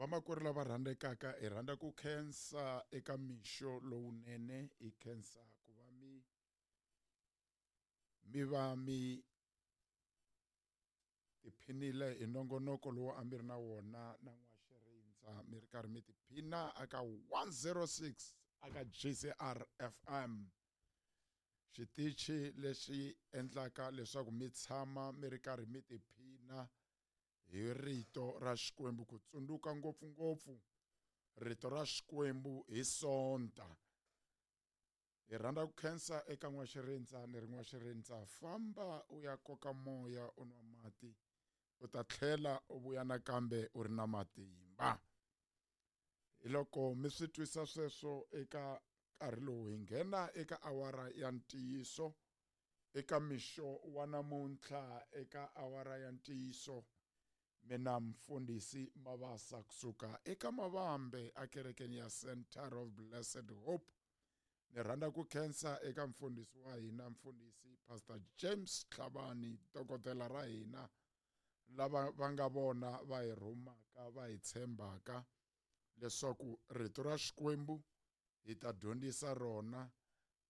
Vamakwerhu lava rhandzekaka hi rhandza ku khensa eka mixo lowunene hi khensa ku va mi mi va mi tiphinile hi nongonoko lowu a mi ri na wona na n'waxirindza mi ri karhi mi tiphina aka 106 aka GCR FM xitichi lexi endlaka leswaku mi tshama mi ri karhi mi tiphina hi rito ra Xikwembu ku tsundzuka ngopfungopfu rito ra Xikwembu hi Sonta. Hi rhandza ku khensa eka n'waxirindza ni ri n'waxirindza famba u ya koka moya u nwa mati u ta tlhela u vuya nakambe u ri na matimba. Hi loko mi swi twisa sweswo eka nkarhi lowu hi nghena eka awara ya ntiyiso eka mixo wa namuntlha eka awara ya ntiyiso mina mfundhisi Mabasa kusuka eka Mavambe ekerekeni ya Center of Blessed Hope ni rhandza ku khensa eka mfundhisi wa hina mfundhisi Pastor James Tlhabani dokodela ra hina lava va nga vona va hi rhumaka va hi tshembaka leswaku rito ra Xikwembu hi ta dyondzisa rona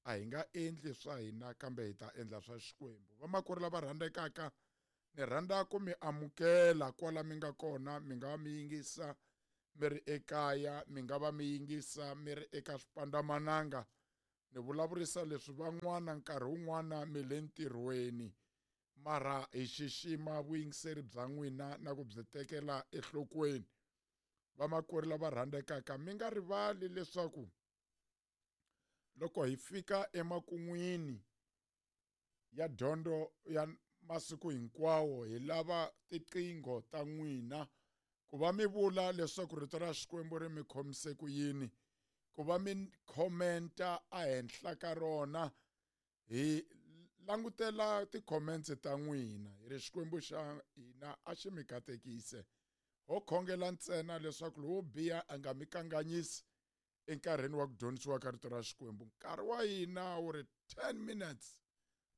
a hi nga endli swa hina kambe hi ta endla swa Xikwembu. Vamakwerhu lava rhandzekaka ni rhandza ku mi amukela kwala mi nga kona mi nga va mi yingisa mi ri ekaya mi nga va mi yingisa mi ri eka swipandzamananga ni vulavurisa leswi van'wana nkarhi wun'wana mi le ntirhweni mara hi xixima vuyingiseri bya n'wina na ku byi tekela enhlokweni. Vamakwerhu lava rhandzekaka mi nga rivali leswaku loko hi fika emakun'wini ya dyondzo ya masiku hinkwawo hi lava tiqingho ta n'wina ku va mi vula leswaku rito ra Xikwembu ri mi khomise ku yini ku va mi khomenta ehenhla ka rona hi langutela ti-comments ta n'wina hi ri Xikwembu xa hina a xi mi katekise ho khongela ntsena leswaku lowo biha a nga mi kanganyisi enkarhini wa ku dyondzisiwa ka rito ra Xikwembu nkarhi wa hina wu ri 10 minutes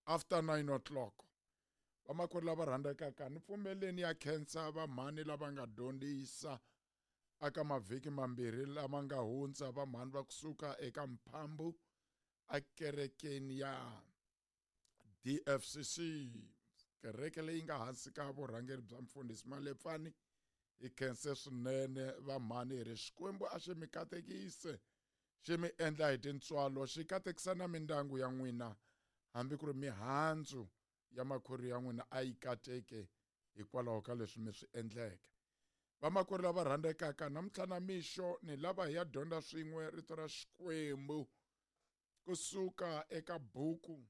after 9 o'clock vamakwerhu lava rhandzekaka ni pfumeleni ya khensa vamhani lava nga dyondzisa aka mavhiki mambirhi lama nga hundza vamhani va kusuka eka mphambu ekerekeni ya DFCC kereke leyi nga hansi ka vurhangeri bya mfundhisi Malepfani hi khense swinene vamhani hi ri Xikwembu a xi mi katekise xi mi endla hi tintswalo xi katekisa na mindyangu ya n'wina hambi ku ri mihandzu ya makhwiri ya n'wina a yi kateke hikwalaho ka leswi mi swi endleke. Vamakwerhu lava rhandzekaka namuntlha na mixo ni lava hi ya dyondza swin'we rito ra Xikwembu kusuka eka buku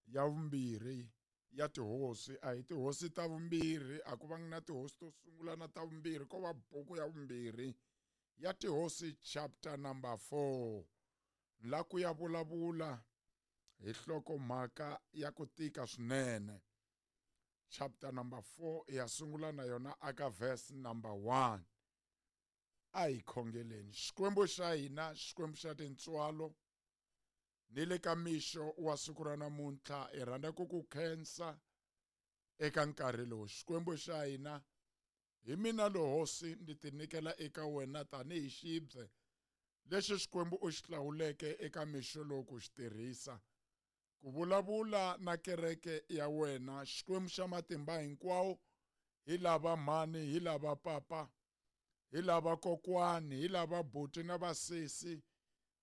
ya vumbirhi ya tihosi a hi tihosi ta vumbirhi a ku vangi na tihosi to sungula na ta vumbirhi ko va buku ya vumbirhi ya tihosi chapter number 4 la ku ya vulavula hi nhlokomhaka ya ku tika swinene chapter number 4 ya sungula na yona aka verse number 1 a hi khongeleni Xikwembu xa hina Xikwembu xa tintswalo ni le ka mixo wa siku ra namuntlha hi rhandza ku ku khensa eka nkarhi lowu Xikwembu xa hina hi mina lo hosi ndzi tinyikela eka wena tanihi xibye lexi Xikwembu u xi hlawuleke eka mixo lowu ku xi tirhisa ku vulavula na kereke ya wena Xikwembu xa matimba hinkwawo hi lava mhani hi lava papa hi lava kokwani hi lava buti na vasesi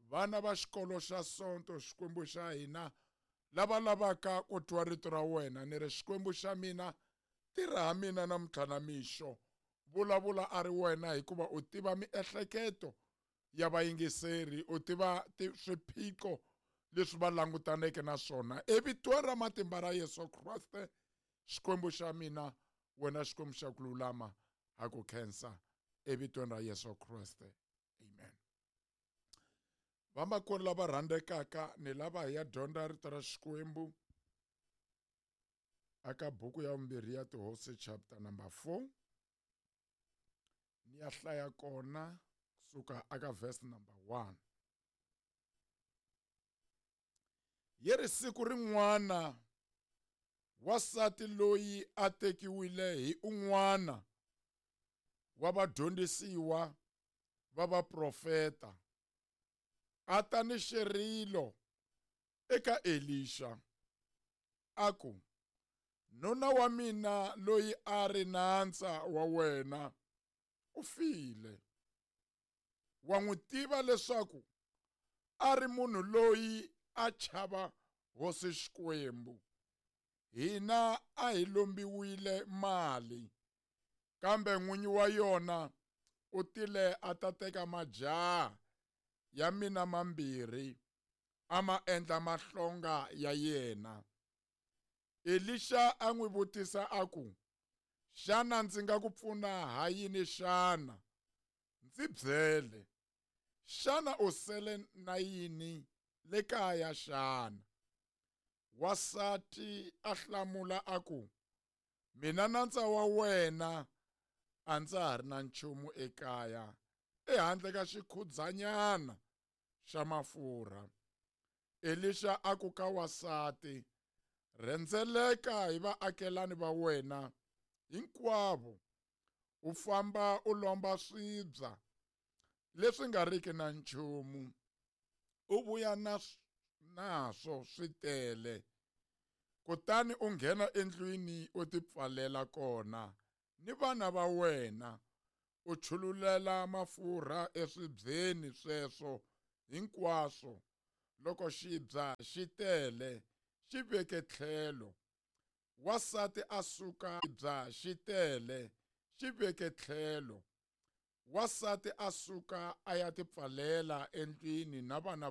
vana va xikolo xa Sonto Xikwembu xa hina lava lavaka ku twa rito ra wena ni ri Xikwembu xa mina tirha ha mina namuntlha na mixo vulavula a ri wena hikuva u tiva miehleketo ya vayingiseri u tiva swiphiqo leswi va langutaneke na swona evitweni ra matimba ra Yesu Kriste Xikwembu xa mina wena Xikwembu xa ku lulama ha ku khensa evitweni ra Yesu Kriste amen. Vamakwerhu lava rhandzekaka ni lava hi ya dyondza rito ra Xikwembu aka buku ya vumbirhi ya tihosi chapter number 4 ni ya hlaya kona kusuka aka verse number 1 yi ri siku rin'wana wasati loyi a tekiwile hi un'wana wa vadyondzisiwa va vaprofeta a ta ni xirilo eka Elixa a ku, Nuna wa mina loyi a ri nandza wa wena u file. Wa n'wi tiva leswaku a ri munhu loyi a chava Hosi Xikwembu. Hina a hi lombiwile mali, kambe n'winyi wa yona u tile a ta teka majaha ya mina mambirhi a ma endla mahlonga ya yena. Elixa a n'wi vutisa a ku, Xana ndzi nga ku pfuna ha yini xana? Ndzi byele, xana u sele na yini le kaya xana? Wansati a hlamula a ku, Mina nandza wa wena a ndza ha ri na nchumu ekaya ehandle ka xikhudzanyana xa mafurha. Elixa a ku ka wansati, Rhendzeleka hi vaakelani va wena hinkwavo, u famba u lomba swibya leswi nga riki na nchumu, u vuya na naswo swi tele. Kutani u nghena endlwini u tipfalela kona ni vana va wena, u chululela mafurha eswibyeni sweswo hinkwaswo. Loko xibya xi tele, xi veke tlhelo. Wansati a suka xibya xi tele, xi veke tlhelo. Wansati a suka a ya tipfalela endlwini na vana.